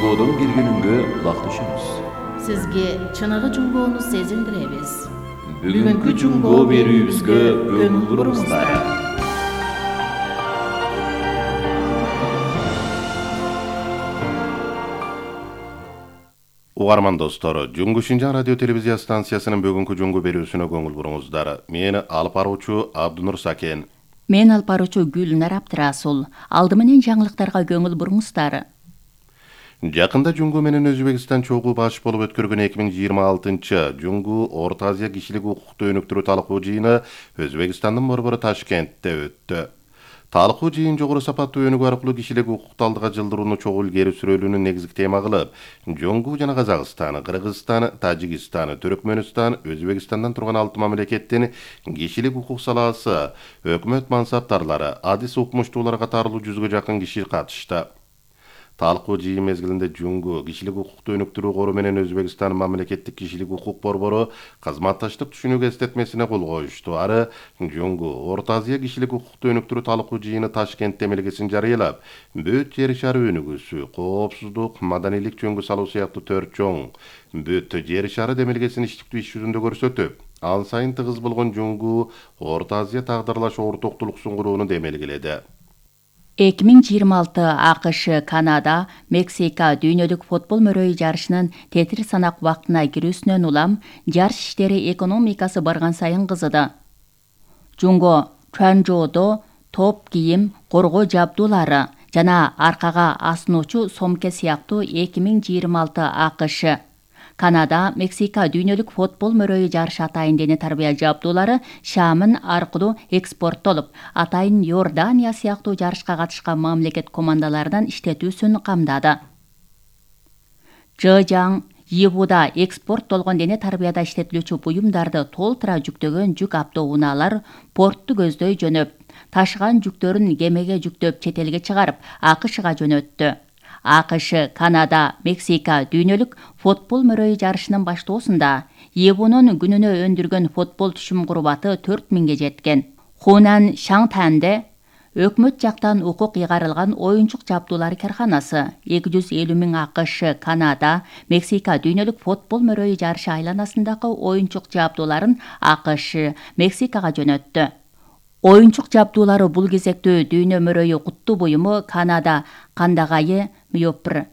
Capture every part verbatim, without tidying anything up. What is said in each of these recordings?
Жуңгодон келгениңге улакташабыз. Сизге чыныгы жуңгоону сезилдиребиз. Бүгүнкү жуңгоо берүүбүзгө көңүл буруңуздар. Угарман достор, Жуңгу Шинжаң радио телевизия станциясынын бүгүнкү жуңгу берүүсүнө көңүл буруңуздар. Мени алып баруучу Абдунур Сакен. Мен алып баруучу Гүлнар Абдрасул. Алды менен жаңылыктарга көңүл буруңуздар. Жакында Жуңгу менен Өзбекстан чогуу баш болуп өткөргөн эки миң жыйырма алтынчы Жуңгу Орто Азия кишилик укукту өнүктүрүү талкуу жыйыны Өзбекстандын борбору Ташкентте өттү. Талкуу жыйын жогору сапаттуу өнүгүү аркылуу кишилик укукту алдыга жылдырууну чогуу илгери сүрөөлүүнү негизги тема кылып, Жуңгу жана Казакстан, Кыргызстан, Тажикстан, Түркмөнстан, Өзбекстандан турган алты мамлекеттин кишилик укук салаасы, өкмөт мансаптарлары, адис укмуштуулар катарлуу жүзгө жакын киши катышты. Талкуу жыйын мезгилинде Жуңгу кишилик укукту өнүктүрүү кору менен Өзбекстан мамлекеттик кишилик укук борбору кызматташтык түшүнүк эстетмесине кол коюшту. Ары Жуңгу Орто Азия кишилик укукту өнүктүрүү талкуу жыйыны Ташкент демилгесин жарыялап, бүт жер шары өнүгүүсү, коопсуздук, маданилик жөнгө салуу сыяктуу төрт чоң бүт жер шары демилгесин иштиктүү иш жүзүндө көрсөтүп, ал сайын тыгыз болгон Жуңгу Орто Азия тагдырлаш ортоктулуксун курууну демелгиледи. эки миң жыйырма алты АКШ, Канада, Мексика дүйнөлүк футбол мөрөйү жарышынын тетир санак убактына кирүүсүнөн улам жарыш иштери экономикасы барган сайын кызыды. Жуңго Чуанчжоудо топ кийим, коргоо жабдуулары жана аркага асынуучу сомке сыяктуу эки миң жыйырма алты АКШ, Канада, Мексика дүйнөлүк футбол мөрөйү жарышы атайын дене тарбия жабдуулары Шамын аркылуу экспорттолуп, атайын Иордания сыяктуу жарышка катышкан мамлекет командаларынын иштетүүсүн камдады. Жыжаң, Йибуда экспорттолгон дене тарбияда иштетилүүчү буюмдарды толтура жүктөгөн жүк автоунаалар портту көздөй жөнөп, ташыган жүктөрүн кемеге жүктөп чет элге чыгарып, АКШга жөнөттү. АКШ, Канада, Мексика дүйнөлүк футбол мөрөйү жарышынын баштоосунда Йибунун күнүнө өндүргөн футбол түшүм курбаты төрт миңге жеткен. Хунан Шаңтанде өкмөт жактан укук ыйгарылган оюнчук жабдуулары карханасы эки жүз элүү миң АКШ, Канада, Мексика дүйнөлүк футбол мөрөйү жарышы айланасындагы оюнчук жабдууларын АКШ, Мексикага жөнөттү. Оюнчук жабдуулары бул кезекте дүйнө мөрөйү кутту буюму Канада кандагайы Мьопр,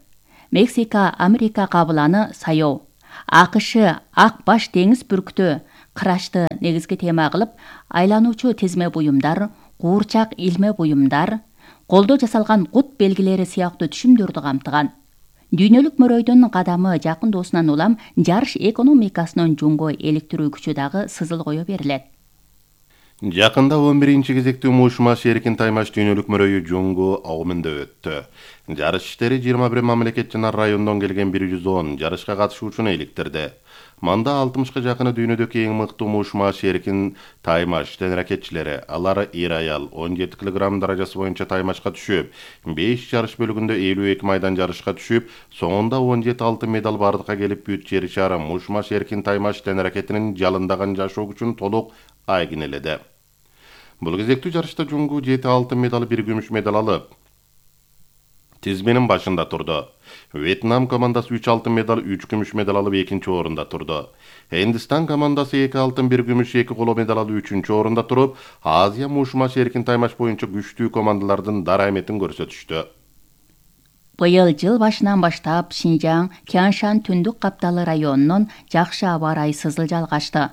Мексика Америка кабыланы Саяоо, АКШ ак баш деңиз бүркүтү кырашты негизги тема кылып, айлануучу тизме буюмдар, куурчак илме буюмдар, колдо жасалган кут белгилери сыяктуу түшүмдөрдү камтыган. Дүйнөлүк мөрөйдүн кадамы жакын доосунан улам жарыш экономикасынын жуңго эликтирүү күчү дагы сызыл кое берилет. Жакында он биринчи кезектүү мушмаш эркин таймаш дүйнөлүк мөрөйү Жуңгу Аумунда өттү. Жарыш иштери жыйырма бир мамлекет жана райондон келген бир жүз он жарышка катышуучуну иликтирди. Манда алтымышка жакыны дүйнөдөгү эң мыктуу мушмаш эркин таймаш тенракетчилери, алар эр аял он жети килограмм даражасы боюнча таймашка түшүп, беш жарыш бөлүгүндө элүү эки майдан жарышка түшүп, соңунда он жети алтын медаль бардыкка келип, бүт жер шары мушмаш эркин таймаш тенракетинин жалындаган жашоо күчүн толук айгинеледи. Бул кезектүү жарышта Жуңгу жети алтын медаль, бир күмүш медаль алып, тизменин башында турду. Вьетнам командасы үч алтын медаль, үч күмүш медаль алып экинчи орунда турду. Хиндистан командасы эки алтын, бир күмүш, эки коло медаль алып үчүнчү орунда туруп, Азия мушмаш эркин таймаш боюнча күчтүү командалардын дара эметин көрсөтүштү. Быйыл жыл башынан баштап Шинжаң, Кяншан түндүк капталы районунун жакшы аба ырайы сызыл жалгашты.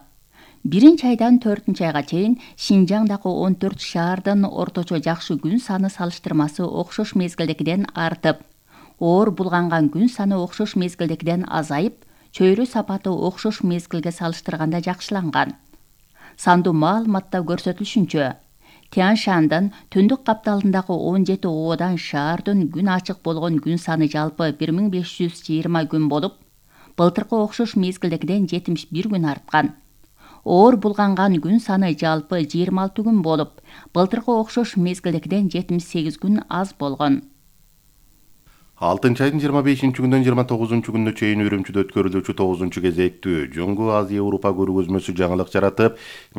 Биринчи айдан төртүнчү айга чейин Шинжаңдагы он төрт шаардын орточо жакшы күн саны салыштырмасы окшош мезгилдегиден артып, оор булганган күн саны окшош мезгилдегиден азайып, чөйрө сапаты окшош мезгилге салыштырганда жакшыланган. Сандуу маалыматта көрсөтүлүшүнчө, Тяншандын түндүк капталындагы он жети ободан шаардын күн ачык болгон күн саны жалпы бир миң беш жүз жыйырма күн болуп, былтыркы окшош мезгилдегиден жетимиш бир күн арткан. Оор булганган күн саны жалпы жыйырма алты күн болуп, былтыркы окшош мезгилдегиден жетимиш сегиз күн аз болгон. алтынчы айдын жыйырма бешинчи күндөн жыйырма тогузунчу күнүнө чейин Үрүмчүдө өткөрүлүүчү тогузунчу кезектүү Жуңгу Азия Европа көргөзмөсү жаңылык жаратып,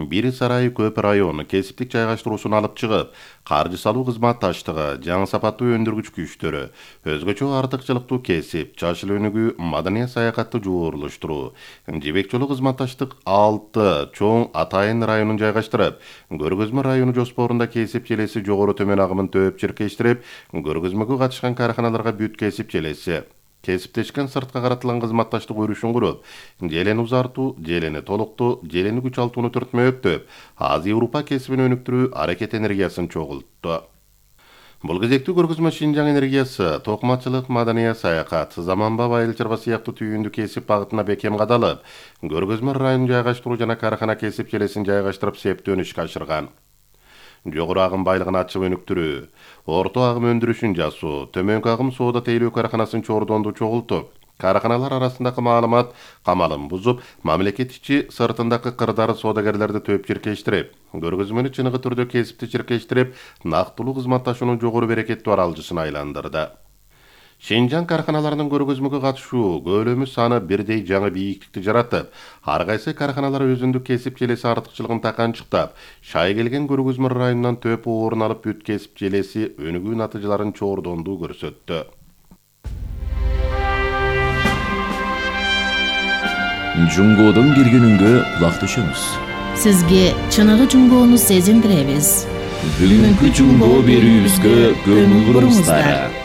Бир Сарай Көп району кесиптик жайгаштыруусун алып чыгып, каржы салуу кызматташтыгы, жаңы сапаттуу өндүргүч күчтөрү, өзгөчө артыкчылыктуу кесип, жашыл өнүгүү, маданий саякатты жуурулуштуруу, жибек жолу кызматташтык алты чоң атайын районун жайгаштырып, көргөзмө району жоспорунда кесип желеси жогору төмөн агымын төп чиркештирип, көргөзмөгө катышкан караханаларга бүт кесип желеси, кесиптешкен сыртка каратылган кызматташтык өрүшүн куруп, желени узартуу, желени толуктоо, желени күч алтууну төртмөктөп, Азия Европа кесибин өнүктүрүү аракет энергиясын чогултту. Бул кезектүү көргөзмө Шинжаң энергиясы, токмачылык, маданий саякат, заманбап айыл чарба сыяктуу түйүндү кесип багытына бекем кадалып, көргөзмө районун жайгаштыруу жана карахана кесип желесин жайгаштырып септөө ишке ашырган. Жогору агым байлыгын ачып өнүктүрүү, орто агым өндүрүшүн жасоо, төмөнкү агым соода тейлөө караханасын чордонду чогултуп, караханалар арасындагы маалымат камалын бузуп, мамлекет ичи сыртындагы кырдаары соодагерлерди төп чиркештирип, көргөзмөнү чыныгы түрдө кесипти чиркештирип, нактылуу кызматташуунун жогору берекеттүү аралжысына айландырды. Шинжаң караханаларынын көргөзмөгө катышуу көлөмү саны бирдей жаңы бийиктикти жаратып, ар кайсы караханалар өзүндүк кесип желеси артыкчылыгын таканчыктап, шай келген көргөзмө районунан төп орун алып бүт кесип желеси өнүгүү натыйжаларын чордондуу көрсөттү. Жуңгодон бир күнүнгө кулак түшөмүз. Сизге чыныгы жуңгоону сезиндиребиз. Бүгүнкү жуңго берүүбүзгө көңүл буруңуздар.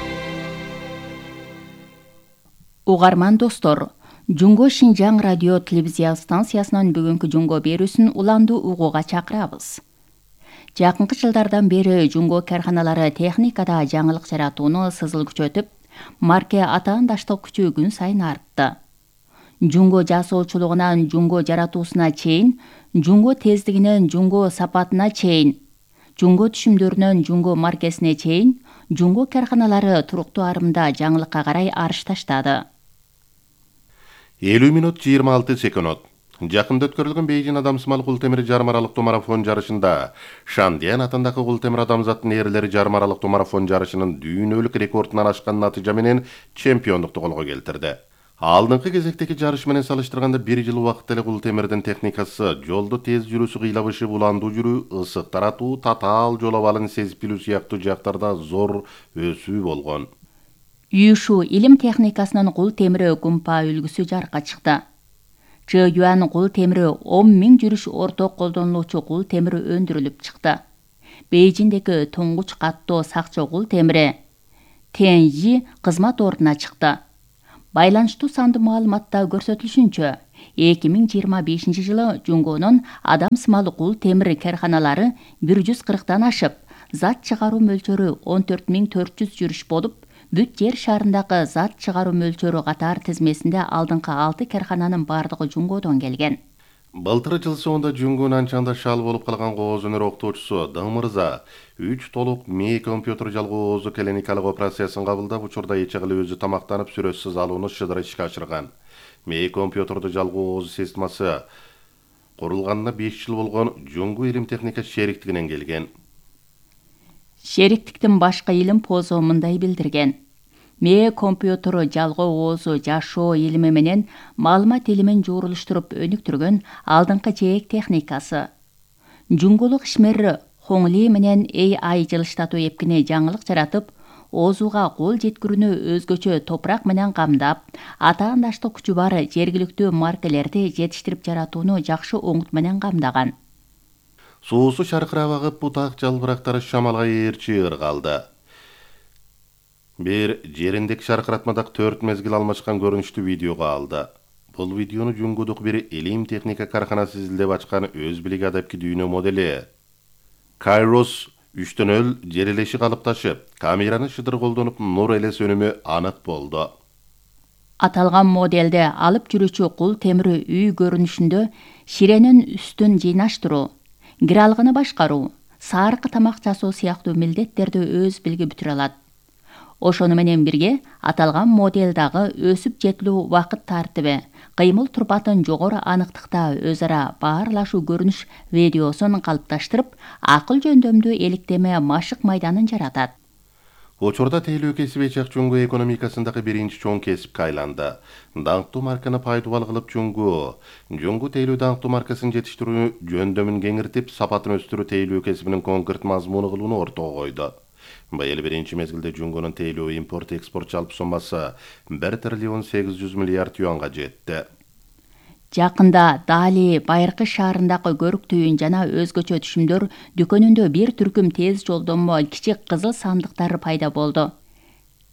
Угарман достор, Жуңго Шинжаң радио телевизия станциясынын бүгүнкү жуңго берүүсүн уланду угууга чакырабыз. Жакынкы жылдардан бери жуңго карханалары техникада жаңылык жаратууну сызыл күчөтүп, марке атаандаштык күчү күн сайын артты. Жуңго жасоочулугунан жуңго жаратуусуна чейин, жуңго тездигинен жуңго сапатына чейин, жуңго түшүмдөрүнөн жуңго маркесине чейин, жуңго карханалары туруктуу арымда жаңылыкка карай арыш таштады. элүү мүнөт жыйырма алты секунд. Жакында өткөрүлгөн Бейжин адамсымал култемир жарым аралыктуу марафон жарышында Шандиан атындагы култемир адамзаттын эрлери жарым аралыктуу марафон жарышынын дүйнөлүк рекордунан ашкан натыйжа менен чемпиондукту колго келтирди. Алдыңкы кезектеги жарыш менен салыштырганда бир жыл убакытта эле култемирдин техникасы жолдо тез жүрүүсү, кыйлабышы, буландуу жүрүү, ысык таратуу, татаал жол абалын сезип билүү сыяктуу жактарда зор өсүү болгон. Юшу илим техникасынын кул темири кумпа үлгүсү жарыкка чыкты. Чы Юан кул темири он миң жүрүш орток колдонулуучу кул темири өндүрүлүп чыкты. Бейжиндеги туңгуч каттоо сакчы кул темири Тенжи кызмат ордуна чыкты. Байланыштуу сандуу маалыматта көрсөтүлүшүнчө, эки миң жыйырма бешинчи жылы жуңгонун адамсымал кул темир карханалары бир жүз кырктан ашып, зат чыгаруу мөлчөрү он төрт миң төрт жүз жүрүш болуп, бүт жер шарындагы зат чыгаруу мөлчөрү катар тизмесинде алдыңкы алты кархананын бардыгы жуңгодон келген. Былтыр жыл соңунда Жуңгунун анчанда шал болуп калган кооз өнөр октоочусу Дың мырза үч толук мээ компьютер жалгоо оозу клиникалык операциясын кабылдап, учурда эч кылы өзү тамактанып сүрөтсүз алууну шыдыр ишке ашырган. Мээ компьютерду жалгоо оозу системасы курулганына беш жыл болгон Жуңгу илим техника шериктигинен келген. Шериктиктин башкы илим позу мындай билдирген: Мээ компьютеру жалгоо оозу жашоо илими менен маалымат илимин жуурулуштуруп өнүктүргөн алдыңкы жээк техникасы. Жуңгулук ишмер Хоңли менен эй ай жылыштатуу эпкине жаңылык жаратып, оозуга кол жеткирүүнү өзгөчө топурак менен камдап, атаандаштык күчү бар жергиликтүү маркелерди жетиштирип жаратууну жакшы оңут менен камдаган. Суусу шаркырап агып, бутак жалбырактары шамалга ээрчи ыргалды. Бир жериндеки шаркыратмадак төрт мезгил алмашкан көрүнүштү видеого алды. Бул видеону Жуңгудук бир илим техника карханасы изилдеп ачкан өз билиги адепки дүйнө модели Kairos үчтөн нөл жерелеши калыпташып, камераны шыдыр колдонуп нур элес өнүмү анык болду. Аталган моделде алып жүрүүчү кул темири үй көрүнүшүндө ширенин үстүн жыйнаштыруу, кир алгыны башкаруу, саркы тамак жасоо сыяктуу милдеттерди өз билги бүтүрө алат. Ошону менен бирге аталган моделдагы өсүп жетилүү убакыт тартиби, кыймыл турпатын жогору аныктыкта өз ара баарлашуу көрүнүш видеосун калыпташтырып, акыл жөндөмдүү эликтеме машык майданын жаратат. Учурда тейлөө кесиби чак Жунгу экономикасындагы биринчи чоң кесипке айланды. Даңктуу марканы пайдубал кылып Жунгу, Жунгу тейлөө даңктуу маркасын жетиштирүү жөндөмүн кеңиртип, сапатын өстүрүү тейлөө кесибинин конкрет мазмуну кылууну ортого койду. Быйыл биринчи мезгилде Жунгунун тейлөө импорт экспорт жалпы соммасы бир триллион сегиз жүз миллиард юанга жетти. Жакында Дали Байыркы шаарындагы көрүк түйүн жана өзгөчө түшүмдөр дүкөнүндө бир түркүм тез жолдомо кичик кызыл сандыктар пайда болду.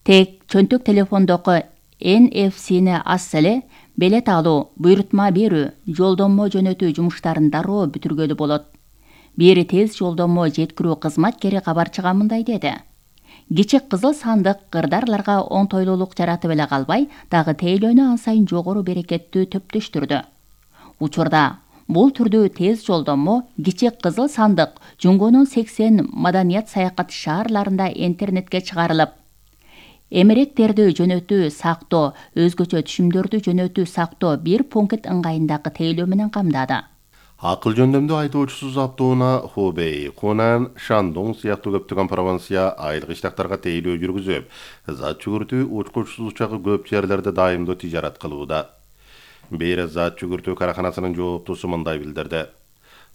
Тек чөнтөк телефондогу эн эф сини ас эле белет алуу, буйрутма берүү, жолдомо жөнөтүү жумуштарын дароо бүтүргөлү болот. Бир тез жолдомо жеткирүү кызматкери кабарчыга мындай деди. Кичик кызыл сандык кырдарларга оңтойлуулук жаратып эле калбай, дагы тейлөөнү ан сайын жогору берекеттүү төптөштүрдү. Учурда бул түрдүү тез жолдомо кичик кызыл сандык Жунгунун сексен маданият саякат шаарларында интернетке чыгарылып, эмеректерди жөнөтүү, сактоо, өзгөчө түшүмдөрдү жөнөтүү, сактоо бир пункт ыңгайындагы тейлөө менен камдады. Акыл жөндөмдүү айдоочусуз автоунаа Хубей, Хунан, Шандун сыяктуу көптөгөн провинция айылык иштактарга тейлөө жүргүзүп, зат жүгүртүү учкучсуз учагы көп жерлерде дайымдуу тижарат кылууда. Бир зат жүгүртүү караханасынын жооптусу мындай билдирди.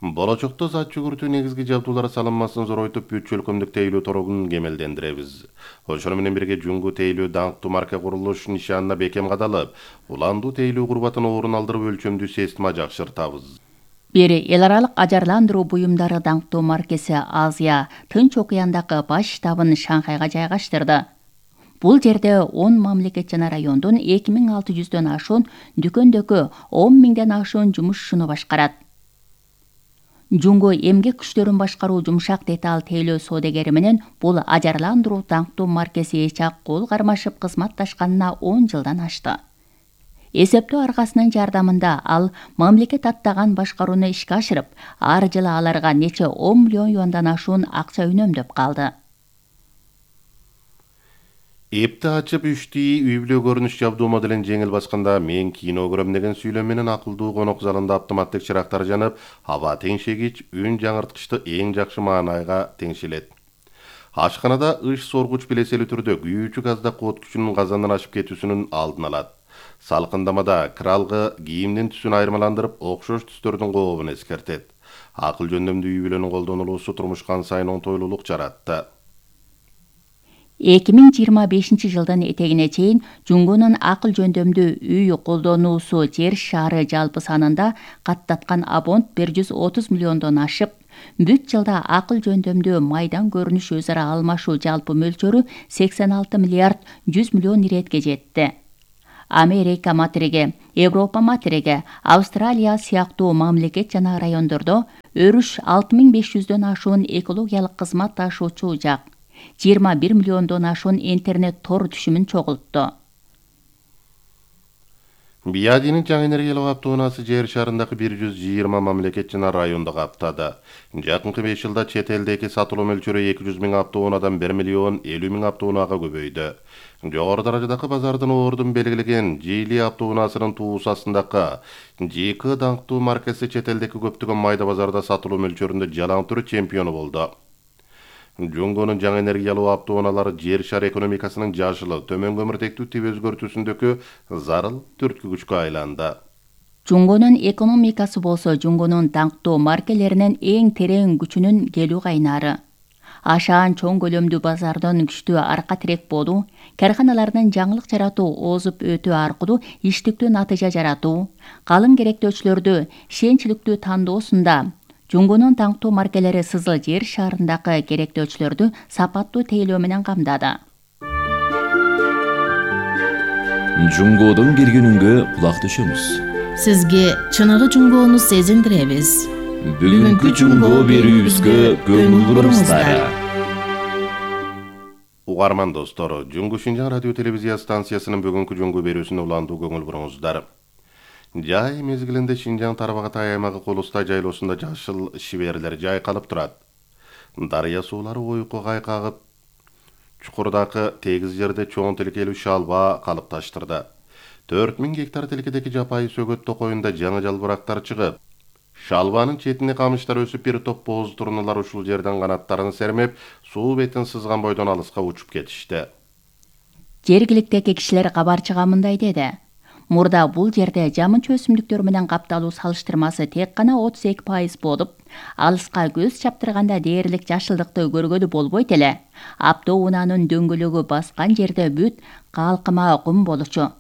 Болочокто зат жүгүртүү негизги жабдуулар салынмасын зоройтуп, бүт чөлкөмдүк тейлөө торогун кемелдендиребиз. Ошону менен бирге Жунгу тейлөө даңктуу марка курулуш нишанына бекем кадалып, уландуу тейлөө курбатын орун алдырып өлчөмдүү система жакшыртабыз. Бир эл аралык ажарландыруу буюмдары даңктуу маркеси Азия, Тынч океандагы баш штабын Шанхайга жайгаштырды. Бул жерде он мамлекет жана райондун эки миң алты жүздөн ашуун дүкөндөгү он миңден ашуун жумушчуну башкарат. Жунгу эмгек күчтөрүн башкаруу жумшак деталь тейлөө соодагери менен бул ажарландыруу даңктуу маркеси чак кол кармашып кызматташканына он жылдан ашты. Эсептөө аркасынын жардамында ал мамлекет аттаган башкарууну ишке ашырып, ар жылы аларга нече он миллион юандан ашуун акча үнөмдөп калды. Эпти ачып үчтии үй-бүлө көрүнүш жабдуу моделин жеңил басканда мен кино көрөм деген сүйлөм менен акылдуу конок залында автоматтык чырактар жанып, аба теңшегич, үн жаңырткычты эң жакшы маанайга теңшелет. Ашканада ыш соргуч билеселүү түрдө күйүүчү газда кот күчүнүн казандан ашып кетүүсүнүн алдын алат. Салкындамада кралгы кийимдин түсүн айырмаландырып, окшош түстөрдүн кообун эскертет. Акыл жөндөмдүү үй-бүлөнүн колдонулуусу турмушка ан сайын оңтойлуулук жаратты. эки миң жыйырма бешинчи жылдын этегине чейин Жунгунун акыл жөндөмдүү үй колдонуусу жер шаары жалпы санында каттаткан абонт бир жүз отуз миллиондон ашып, бүт жылда акыл жөндөмдүү майдан көрүнүш өз ара алмашуу жалпы мөлчөрү сексен алты миллиард жүз миллион иретке жетти. Америка материги, Европа материги, Австралия сыяктуу мамлекет жана райондордо өрүш алты миң беш жүздөн ашуун экологиялык кызмат ташуучу жак, жыйырма бир миллиондон ашуун интернет тор түшүмүн чогултту. Биядинин жаңы энергиялык автоунаасы жер шарындагы бир жүз жыйырма мамлекет жана районду каптады. Жакынкы беш жылда чет элдеги сатылуу мөлчөрү эки жүз миң автоунаадан бир миллион элүү миң автоунаага көбөйдү. Жогору даражадагы базардын ордун белгилеген Жили автоунаасынын туусасындагы жи ка даңктуу маркасы чет элдеги көптөгөн майда базарда сатылуу мөлчөрүндө жалаң түрү чемпиону болду. Жунгунун жаңы энергиялуу автоунаалары жер шары экономикасынын жашыл, төмөн көмүртектүү тип өзгөртүүсүндөгү зарыл түрткү күчкө айланды. Жунгунун экономикасы болсо Жунгунун даңктуу маркелеринин эң терең күчүнүн келүү кайнары. Ашаан чоң көлөмдүү базардын күчтүү арка тирек болуу, карканалардын жаңылык жаратуу, озуп өтүү аркылуу иштиктүү натыйжа жаратуу, калың керектөөчүлөрдү ишенчиликтүү тандоосунда Жунгунун даңктуу маркелери Сызыл жер шаарындагы керектөөчүлөрдү сапаттуу тейлөө менен камдады. Жунгодон келгенүнгө кулак түшөмүз. Сизге чыныгы Жунгоону сезиндиребиз. Бүгүнкү Жунгоо берүүбүзгө көңүл буруңуздар. Угарман достор, Жунгу Шинжаң радио телевизия станциясынын бүгүнкү Жунгу берүүсүнө уландуу көңүл буруңуздар. Жай мезгилинде Шинжаң Тарбагатай аймагы Колустай жайлоосунда жашыл шиберлер жайкалып турат. Дарыя суулары ойкуга кайкагып, чукурдагы тегиз жерде чоң тилкелүү шалба калыпташтырды. төрт миң гектар тилкедеги жапайы сөгөт токоюнда жаңы жалбырактар чыгып, Шалбанын четине камыштар өсүп, бир топ боз турналар ушул жерден канаттарын сермеп, суу бетин сызган бойдон алыска учуп кетишти. Жергиликтеги кишилер кабарчыга мындай деди: мурда бул жерде жамынча өсүмдүктөр менен капталуу салыштырмасы тек гана отуз эки пайыз болуп, алыска көз чаптырганда дээрлик жашылдыкты көргөлү болбойт эле. Апто унаанын дөңгөлөгү баскан жерде бүт калкыма кум болчу.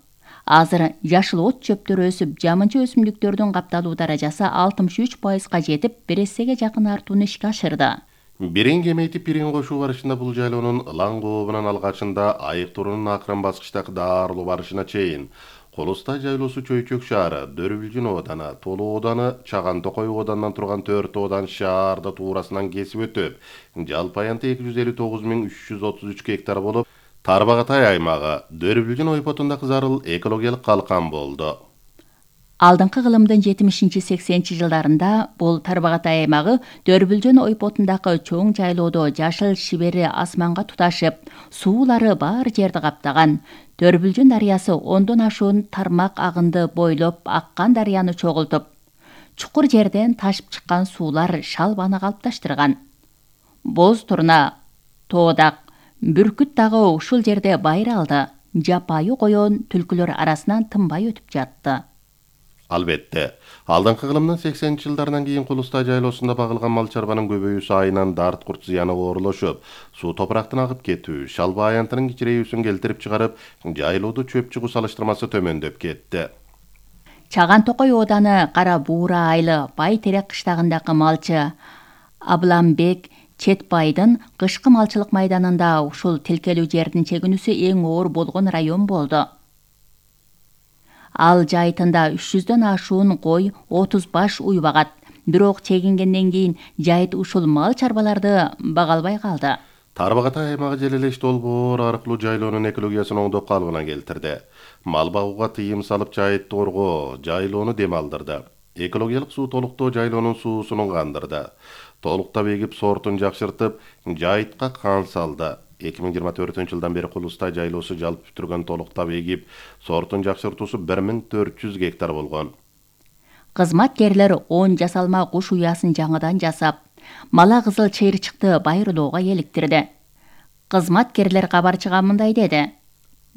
Азыр жашыл от чөптөр өсүп, жамынча өсүмдүктөрдүн капталуу даражасы алтымыш үч пайызга жетип, бир эсеге жакын артууну ишке ашырды. Бирин кемейтип бирин кошуу барышында бул жайлоонун ылаң кообунан алгачында айыктуурунун акырын баскычтагы даарылуу барышына чейин Колустай жайлоосу чөйчөк шаары, Дөрбүлжүн ооданы, Толу ооданы, Чаган Токой оодарынан турган төрт оодан шаарды туурасынан кесип өтүп, жалпы аянты эки жүз элүү тогуз миң үч жүз отуз үч гектар болуп, Тарбагатай аймагы Дөрбүлжүн ойпотундагы зарыл экологиялык калкан болду. Алдыңкы кылымдын жетимишинчи сексенинчи жылдарында бул Тарбагатай аймагы Дөрбүлжүн ойпотундагы чоң жайлоодо жашыл шибери асманга туташып, суулары бар жерди каптаган. Дөрбүлжүн дарыясы ондон ашуун тармак агынды бойлоп аккан дарыяны чогултуп, чукур жерден ташып чыккан суулар шалбаны калыпташтырган. Боз турна, тоодак, бүркүт дагы ушул жерде байыр алды. Жапайы коён түлкүлөр арасынан тынбай өтүп жатты. Албетте, алдыңкы кылымдын сексенинчи жылдарынан кийин Кулустай жайлоосунда багылган мал чарбанын көбөйүүсү айынан дарт курт зыяны оорлошуп, суу топурактан агып кетүү, шалба аянтынын кичирейүүсүн келтирип чыгарып, жайлоодо чөп чыгуу салыштырмасы төмөндөп кетти. Чаган Токой ооданы Кара Буура айылы Бай Терек кыштагындагы малчы Абламбек Четбайдын кышкы малчылык майданында ушул тилкелүү жердин чегинүүсү эң оор болгон район болду. Ал жайытында үч жүздөн ашуун кой, отуз баш уй багат. Бирок чегингенден кийин жайыт ушул мал чарбаларды бага албай калды. Тарбагатай аймагы желелеш долбоор аркылуу жайлоонун экологиясын оңдоп калыбына келтирди. Мал багууга тыйым салып, жайытты коргоо, жайлоону дем алдырды. Экологиялык суу толуктоо жайлоонун суусун кандырды. Толуктап эгип, сортун жакшыртып, жайытка кан салды. эки миң жыйырма төртүнчү жылдан бери Кулустай жайлоосу жалпы бүтүргөн толуктап эгип, сортун жакшыртуусу бир миң төрт жүз гектар болгон. Кызматкерлер он жасалма куш уясын жаңыдан жасап, мала кызыл чыйырчыкты байырлоого эликтирди. Кызматкерлер кабарчыга мындай деди: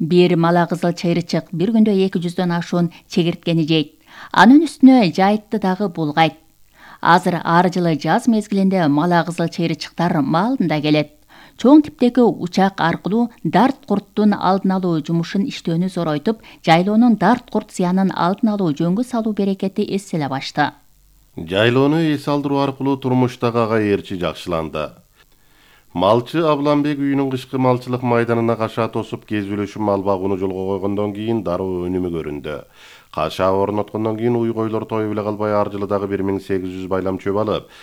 бир мала кызыл чыйырчык бир күндө эки жүздөн ашуун чегирткени жейт. Анын үстүнө жайытты дагы булгайт. Азыр ар жылы жаз мезгилинде мала кызыл чыйырчыктар маалында келет. Чоң типтеги учак аркылуу дарт курттун алдын алуу жумушун иштөөнү зоройтуп, жайлоонун дарт курт зыянын алдын алуу жөнгө салуу берекети эселеп ашты. Жайлоону эс алдыруу аркылуу турмуштагы ага ээрчи жакшыланды. Малчы Абламбек үйүнүн кышкы малчылык майданына кашаа тосуп кезүүлөшүп мал багууну жолго койгондон кийин дароо өнүмү көрүндү. Кашаа орноткондон кийин уй койлор тоюп эле калбай, ар жылы дагы бир миң сегиз жүз байлам чөп алып,